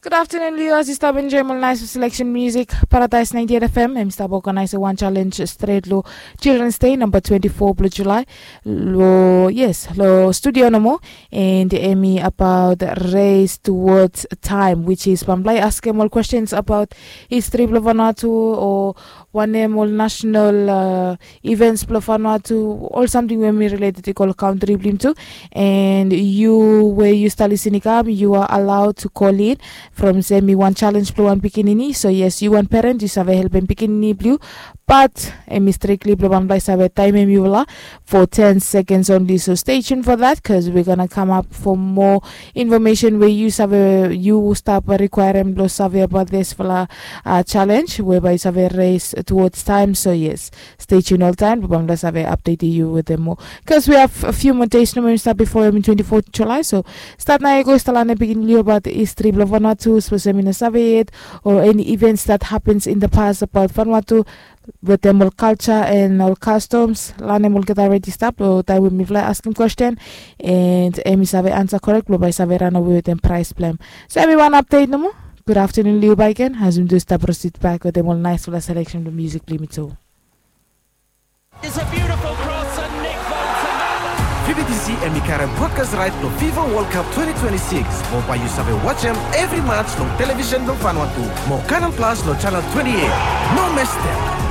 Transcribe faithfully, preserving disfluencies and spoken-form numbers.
Gud aftanun, liu. As yu stap enjoim ol nais seleksen musik, Paradise ninety eight F M em i stap oganaisem wan chalenj stret long Children's Day namba twenty four bilong Julai. Long, yes, long studio nomo. And em i abaot Race Towards Time, which is bambae askim ol kwestens abaot histri bilong Vanuatu o wanem ol national events bilong Vanuatu, ol samting we em i related i go long kantri bilong yumi tu. And yu we yu stap lisin i kam, yu are allowed to call in from sem i wan challenge bilong wan pikinini. So yes, yu wan parent, yu save helpim pikinini bilong yu, bat em i strikli bilong bambae save taimim yufala for ten seconds only. So stay tuned for that, because we're gonna come up for more information where yu save, yu stap requirim bilong save about this fala challenge whereby yu save race towards time. So yes, stay tuned all time, bambae save update yu with them more, because we have a few more days nomo i stap before em twenty fourth July. So start na i go stap lanem pikinini bilong yu about history bilong Vanuatu, suppose em i no save yet, or any events that happens in the past about Vanuatu, wetem ol culture and ol customs. Lanem olgeta already stap long taim we mifala askim question, and em i save ansa korek bilong bai save ranawe wetem prize bilong em. So em i wan update nomo. Good afternoon, liu baiken, as mi do stap proceed back wetem ol naispela selection bilong music bilong mi tu. Is a beautiful cross and Nick Bolton. Fifa D C em i karim broadcast right long FIFA World Cup twenty twenty-six. Mo bai yu save watch em every match long television bilong Vanuatu. Mo Canal Plus long channel twenty-eight. No miss them.